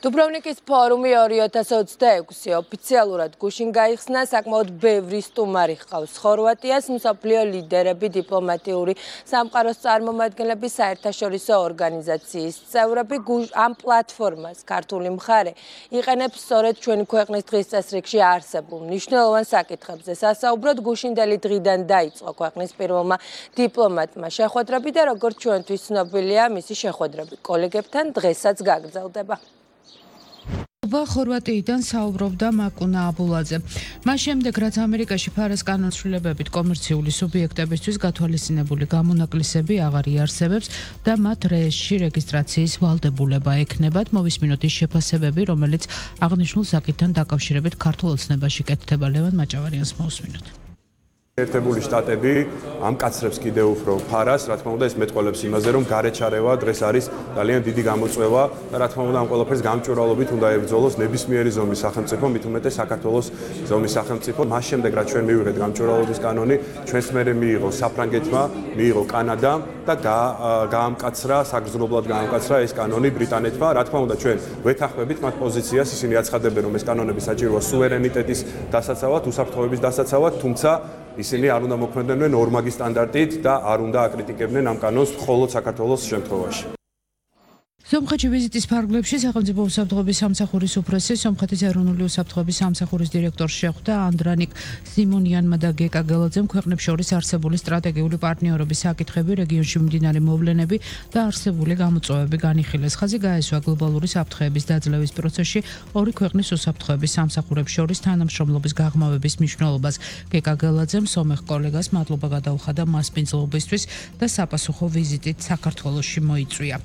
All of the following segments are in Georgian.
დუბროვნიკის ფორუმი 2026 ოფიციალურად გუშინ გაიხსნა, საკმაოდ ბევრი სტუმარი ჰყავს ხორვატიას, მსოფლიო ლიდერები, დიპლომატიური სამყაროს წარმომადგენლები, საერთაშორისო ორგანიზაციის წევრები. ამ პლატფორმას ქართული მხარე იყენებს სწორედ ჩვენი ქვეყნის დღის წესრიგში არსებულ მნიშვნელოვან საკითხებზე სასაუბროდ. გუშინდელი დღიდან დაიწყო ქვეყნის პირველმა დიპლომატმა შეხვედრები და როგორც ჩვენთვის ცნობილია, მისი შეხვედრები კოლეგებთან დღესაც გაგრძელდება. ხორვატიიდან საუბრობდა მაკუნა აბულაძე. მას შემდეგ, რაც ამერიკაში ფარას კანონშრომლებით კომერციული სუბიექტებისთვის გათვალისწინებული გამონაკლისები აღარ იარსებებს და მათ რეესში რეგისტრაციის ვალდებულება ექნებათ, მოვისმინოთ ის შეფასებები, რომელიც აღნიშნულ საკითხთან დაკავშირებით ქართულ ოცნებაში კეთდება. ლევან მაჭავარიანს მოვისმინოთ. ერთებული შტატები ამკაცრებს კიდევ უფრო ფარას, რა თქმა უნდა, ეს მეტყველებს იმაზე, რომ გარეჩარევა დღეს არის ძალიან დიდი გამოწვევა და რა თქმა უნდა, ამ ყველაფერს გამჭვირვალობით უნდა ებრძოლოს ნებისმიერი ზომის სახელმწიფო, მით უმეტეს საქართველოს ზომის სახელმწიფო. მას შემდეგ, რაც ჩვენ მივიღეთ გამჭვირვალობის კანონი, ჩვენს მერე მიიღო საფრანგეთმა, მიიღო კანადამ და გაამკაცრა, საგრძნობლად გაამკაცრა ეს კანონი ბრიტანეთმა. რა თქმა უნდა, ჩვენ ვეთანხმებით მათ პოზიციას, ისინი აცხადებენ, რომ ეს კანონები საჭიროა სუვერენიტეტის დასაცავად, უსაფრთხოების დასაცავად, თუმცა ისინი არ უნდა მოქმედებდნენ ორმაგის სტანდარტით და არ უნდა აკრიტიკებდნენ ამ კანონს მხოლოდ საქართველოს შემთხვევაში. სომხეთში ვიზიტის ფარგლებში სახელმწიფო უსაფრთხოების სამსახურის უფროსი, სომხეთის ეროვნული უსაფრთხოების სამსახურის დირექტორს შეხვდა ანდრანიკ სიმონიანმა და გეკა გელაძემ ქვეყნებს შორის არსებული სტრატეგიული პარტნიორობის საკითხები, რეგიონში მიმდინარე მოვლენები და არსებული გამოწვევები განიხილეს. ხაზი გაესვა გლობალური საფრთხეების დაძლევის პროცესში ორი ქვეყნის უსაფრთხოების სამსახურებს შორის თანამშრომლობის გაღრმავების მნიშვნელობას. გეკა გელაძემ სომეხ კოლეგას მადლობა გადაუხადა მასპინძლობისთვის და საპასუხო ვიზიტით საქართველოში მოიწვია.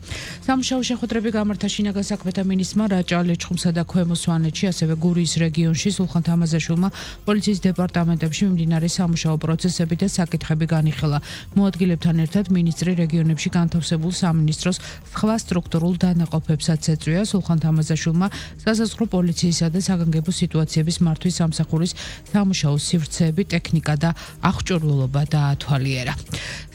სამუშაო შეხვედრები გამართა შინაგან საქმეთა მინისტრმა რაჭა ლეჩხუმსა და ქვემო სვანეთში, ასევე გურიის რეგიონში სულხან თამაზაშვილმა პოლიციის დეპარტამენტებში მიმდინარე სამუშაო პროცესები და საკითხები განიხილა. მოადგილებთან ერთად მინისტრი რეგიონებში განთავსებულ სამინისტროს სხვა სტრუქტურულ დანაყოფებსაც ეწვია. სულხან თამაზაშვილმა სასაზღვრო პოლიციისა და საგანგებო სიტუაციების მართვის სამსახურის სამუშაო სივრცეები, ტექნიკა და აღჭურვილობა დაათვალიერა.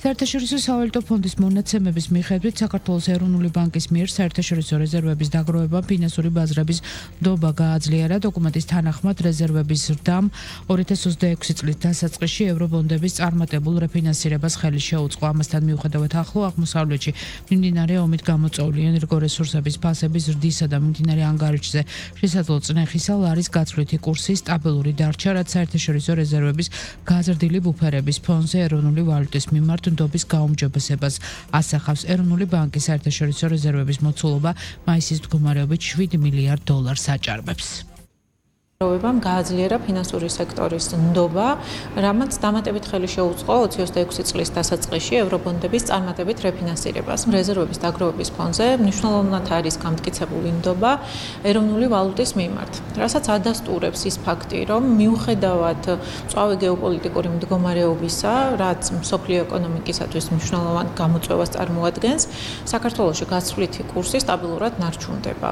საერთაშორისო სავალუტო ფონდის მონაცემების მიხედვით საქართველოს ეროვნული ბანკის მიერ საერთაშორისო რეზერვების დაგროვებამ ფინანსური ბაზრების ნდობა გააძლიერა. დოკუმენტის თანახმად რეზერვების ზრდამ 2026 წლის დასაწყისში ევრობონდების წარმატებულ რეფინანსირებას ხელი შეუწყო. ამასთან მიუხედავად ახლო აღმოსავლეთში მიმდინარე ომით გამოწვეული ენერგორესურსების ფასების ზრდისა და მიმდინარე ანგარიშზე შესაძლო წნეხისა ლარის გაცვლითი კურსი სტაბილური დარჩა, რაც საერთაშორისო რეზერვების გაზრდილი ბუფერების ფონზე ეროვნული ვალუტის მიმართ ნდობის გაუმჯობესებას ასახავს. ეროვნული ბანკის საერთაშორისო რეზერვების მოცულობა მაისის მდგომარეობით $7 მილიარდ აჭარბებს. როვებამ გააძლიერა ფინანსური სექტორის ნდობა, რამაც დამატებით ხელი შეუწყო 2026 წლის დასაწყისში ევრობონდების წარმატებით რეფინანსირებას. რეზერვების დაგროვების ფონზე მნიშვნელოვნად არის გამტკიცებული ნდობა ეროვნული ვალუტის მიმართ, რასაც ადასტურებს ის ფაქტი, რომ მიუხედავად მწვავე გეოპოლიტიკური მდგომარეობისა, რაც მსოფლიო ეკონომიკისათვის მნიშვნელოვან გამოწვევას წარმოადგენს, საქართველოში გაცვლითი კურსი სტაბილურად ნარჩუნდება.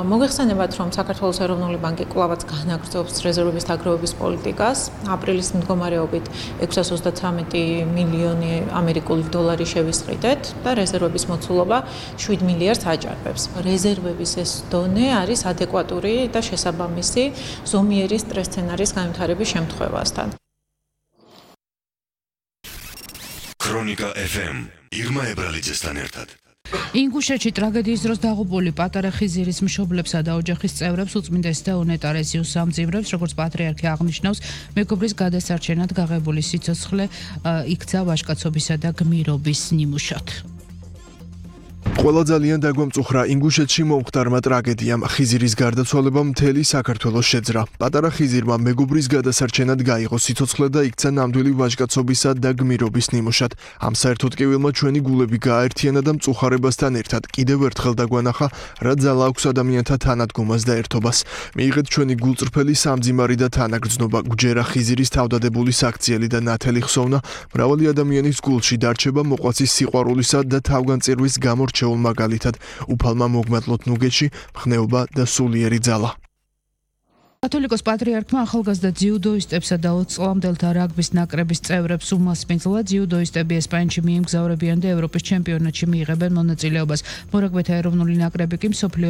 მოგეხსენებათ, რომ საქართველოს ეროვნული ბანკი კვლავ განაგრძობს რეზერვების დაგროვების პოლიტიკას. აპრილის მდგომარეობით 633 მილიონი ამერიკული დოლარი შევისყიდეთ და რეზერვების მოცულობა $7 მილიარდს აჭარბებს. რეზერვების ეს დონე არის ადეკვატური და შესაბამისი ზომიერი სტრეს სცენარის განვითარების შემთხვევასთან. ქრონიკა FM ირმა ებრალიძესთან ერთად. ინგუშეთში ტრაგედიის დროს დაღუპული პატარა ხიზირის მშობლებსა და ოჯახის წევრებს უწმინდესი და უნეტარესიუს სამძიმრებს, როგორც პატრიარქი აღნიშნავს, მეგობრის გადასარჩენად გაღებული სიცოცხლე იქცა ვაჟკაცობისა და გმირობის ნიმუშად. ყველა ძალიან დაგვამწუხრა ინგუშეთში მომხდარმა ტრაგედიამ. ხიზირის გარდაცვალებამ მთელი საქართველოს შეძრა. პატარა ხიზირმა მეგობრის გადასარჩენად გაიღო სიცოცხლე და იქცა ნამდვილი ვაჟკაცობისა და გმირობის ნიმუშად. ამ საერთოდ კივილმა ჩვენი გულები გააერთიანა და მწუხარებასთან ერთად კიდევ ერთხელ დაგვანახა, რა ძალა აქვს ადამიანთა თანადგომას და ერთობას. მიიღეთ ჩვენი გულწრფელი სამძიმარი და თანაგრძნობა. გვჯერა ხიზირის თავდადებული საქციელი და ნათელი ხსოვნა მრავალი ადამიანის გულში დარჩება მოყვაცის სიყვარულისა და თავგანწირვის გამორჩეულ მაგალითად, უფალმა მოგმატლოთ ნუგეთში მხნეობა და სულიერი ძალა. კათოლიკოს პატრიარქმა ახალგაზრდა ძიუდოისტებსა და 20 წლამდელთა რაგბის ნაკრების წევრებს უმასპინძლა. ძიუდოისტები ესპანეთში მიემგზავრებიან და ევროპის ჩემპიონატში მიიღებენ მონაწილეობას. მორაგბეთა ეროვნული ნაკრები კი მსოფლიო